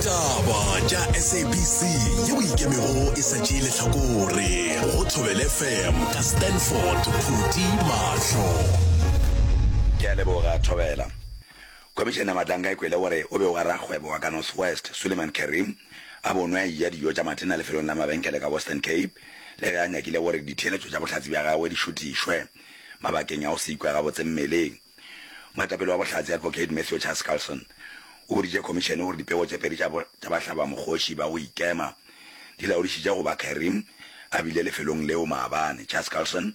Ditaba tša SABC yeo e ikemego e sa tšee lehlakore go Thobela FM ka Stanford Phuti Mahlo. Ke a leboga, Thobela. Khomišene ya Matlanka e kwele gore o be o ga rakgwebo wa ka North West, Suleiman Carrim, a bonwe a eja dijo tša matena lefelong la mabenkele ka Western Cape le ge a nyakile gore ditheeletšo tša bohlatse bja gagwe di šutišwe mabakeng a go se ikwe gabotse mmeleng. Moetapele wa bohlatse Advocate Matthew Chaskalson o boditše khomišene gore dipego tše pedi tša bahlabamokgoši ba go ikema di laodišitše go ba Carrim a bile lefelong leo maabane. Chaskalson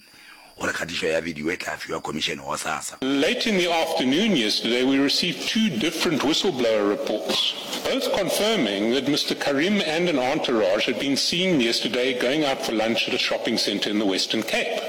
o re kgatišo ya bidio e tla fiwa khomišene gosasa. Late in the afternoon yesterday we received two different whistleblower reports, both confirming that Mister Carrim and an entourage had been seen yesterday going out for lunch at a shopping centre in the Western Cape.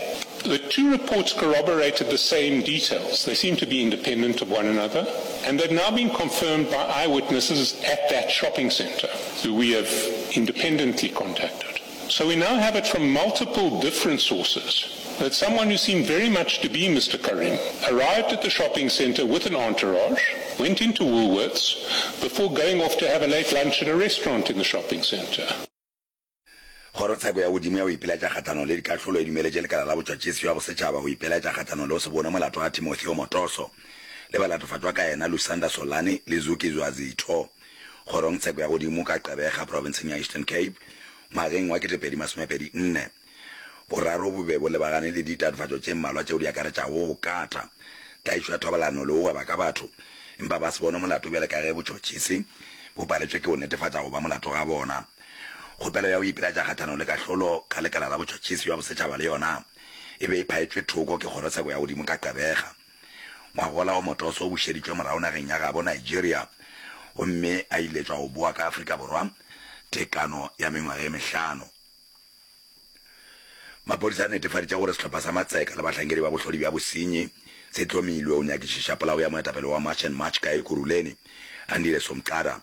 The two reports corroborated the same details. They seem to be independent of one another, and they've now been confirmed by eyewitnesses at that shopping centre, who we have independently contacted. So we now have it from multiple different sources that someone who seemed very much to be Mr. Karim arrived at the shopping centre with an entourage, went into Woolworths, before going off to have a late lunch at a restaurant in the shopping centre. Kgorotsheko ya Godimo ya go Ipilaetša Kgahlanong le Dikahlolo e dumeletše Lekala la Botšhotšhisi bja Bosetšhaba go ipilaetša kgahlanong le go se bone molato ga Timotheo Motoso le balatofatšwa ka yena Lusanda Solani le Zukiswa Zitho Kgorongtsheko ya Godimo ka Gqeberha profenseng ya Eastern Cape ngwageng wa 2024. Boraro bo be bo lebagane le ditatofatšo tše mmalwa tšeo di akaretšago go kata, tlaišo ya thobalano le go gweba ka batho, empa ba se bone molato bjale ka ge botšhotšhisi bo paletšwe ke go netefatša go ba molato ga bona. Kgopelo ya go ipilaetša kgahlanong le kahlolo ka lekala la botšhotšhisi bja bosetšhaba le yona e be e phaetšwe thoko ke kgorotsheko ya godimo ka Gqeberha. Ngwagola Omotoso o bušeditšwe morago nageng ya gabo Nigeria gomme a iletšwa go boa ka Afrika Borwa tekano ya mengwaga e mehlano. Maphodisa a netefaditše gore sehlopha sa Matseka le bahlankedi ba bohlodi bja bosenyi se hlomilwe go nyakišiša polao ya moetapele wa March and March ka Ekurhuleni, Andile Somqada.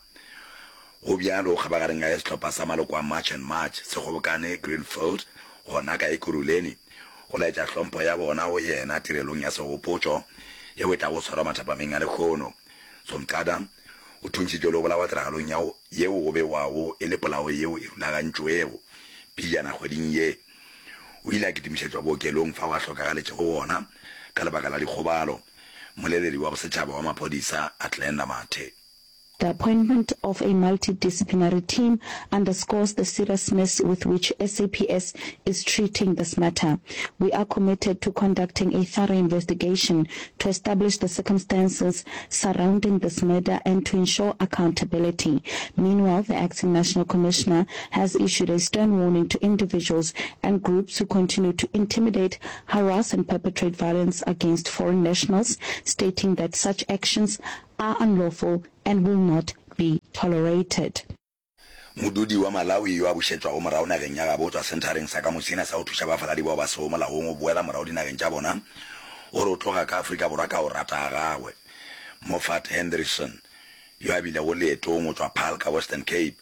Go bjalo kgabagareng ga ge sehlopha sa maloko a March and March se kgobokane Greenfield gona ka Ekurhuleni go laetša hlompho ya bona go yena tirelong ya segopotšo yeo e tlago swarwa mathapameng a lehono. Somqada o thuntšhitšwe le go bolawa tiragalong ya yeo go bewago e le polao yeo e rulagantšwego pejana kgweding ye. O ile a kitimišetšwa bookelong fao a hlokagaletšego gona ka lebaka la dikgobalo. Mmoleledi wa bosetšhaba wa maphodisa, Athlenda Mathe. The appointment of a multidisciplinary team underscores the seriousness with which SAPS is treating this matter. We are committed to conducting a thorough investigation to establish the circumstances surrounding this murder and to ensure accountability. Meanwhile, the acting national commissioner has issued a stern warning to individuals and groups who continue to intimidate, harass and perpetrate violence against foreign nationals, stating that such actions are unlawful and will not be tolerated. Modudi wa Malawi yo a bušetšwago morago nageng ya gabo go tšwa senthareng sa Kamusina sa go thuša bafaladi bao ba sego molaong go boela morago dinageng tša bona o re o tloga ka Afrika Borwa ka go rata ga gagwe. Moffat Hendrickson, yo a bilego leetong go tšwa Paarl ka Western Cape,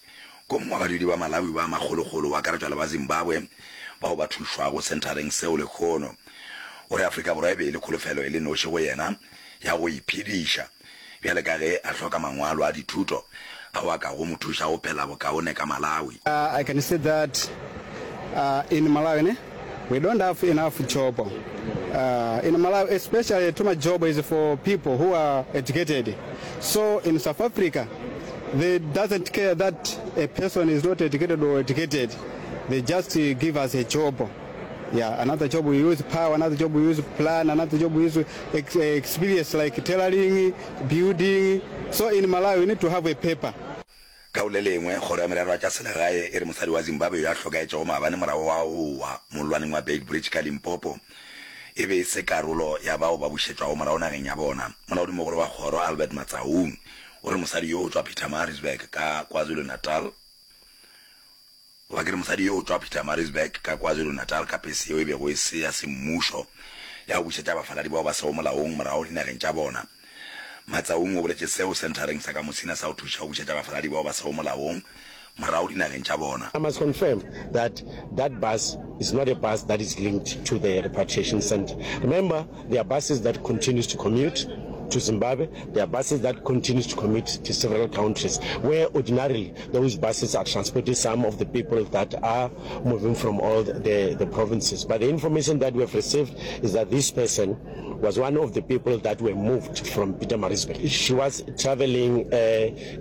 ko mongwe wa badudi ba Malawi ba makgolokgolo go akaretšwa le ba Zimbabwe bao ba thušwago senthareng seo lehono. O re Afrika Borwa e be e le kholofelo e le noši go yena ya go iphediša bjale ka ge a hloka mangwalo a dithuto ao a kago mo thuša go phela bokaone ka Malawi. I can see that in Malawi ne we don't have enough job in Malawi especially too much job is for people who are educated so in South Africa they doesn't care that a person is not educated or educated they just give us a job yeah another job we use power another job we use plan another job we use ex experience like tailoring building so in Malawi we need to have a paper. Ka go le lengwe, Kgoro ya Merero ya tša Selegae e re mosadi wa Zimbabwe yo a hlokaetšego maabane morago ga go wa mollwaneng wa Beitbridge ka Limpopo e be e se karolo ya bao ba bušetšwago morago nageng ya bona. Molaodimogolo wa kgoro, Albert Matsaung, o re mosadi yo o tšwa Pietermaritzburg ka KwaZulu-Natal. Goba ke re mosadi yo o tšwa Pietermaritzburg ka KwaZulu-Natal ka pese yeo e bego e se ya semmušo ya go bušetša bafaladi bao ba sego molaong morago dinageng tša bona. Matsaung o boletše seo senthareng sa Kamusina sa go thuša go bušetša bafaladi bao ba sego molaong morago dinageng tša bona. I must confirm that that bus is not a bus that is linked to the repatriation centre. Remember, there are buses that continues to commute. to Zimbabwe. There are buses that continues to commute to several countries where ordinarily those buses are transporting some of the people that are moving from all the, the provinces. But the information that we have received is that this person was one of the people that were moved from Pietermaritzburg. She was traveling uh,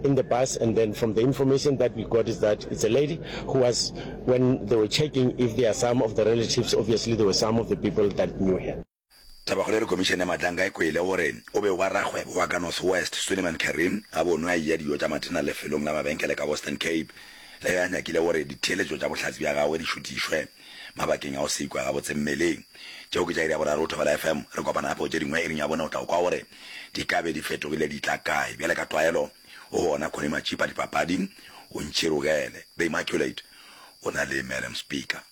in the bus and then from the information that we got is that it's a lady who was, when they were checking if there are some of the relatives, obviously there were some of the people that knew her. Tabakgolo e re Khomišene ya Matlanka e kwele gore o be wa rakgwebo wa ka North West, Suleiman Carrim, a bonwe a eya dijo tša matena lefelong la mabenkele ka Western Cape le ge a nyakile gore ditheeletšo tša bohlatse bja gagwe di šutišwe mabakeng a go se ikwe gabotse mmeleng. Tšeo ke tša iri ya boraro go Thobela FM. Re kopana gape go tše dingwe iring ya bone o tla kwa gore di ka be di fetogile di tla kae. Bjale ka tlwaelo o gona Connie Matšipa dipapading o ntšhirogele. The Immaculate o na le Madam Speaker.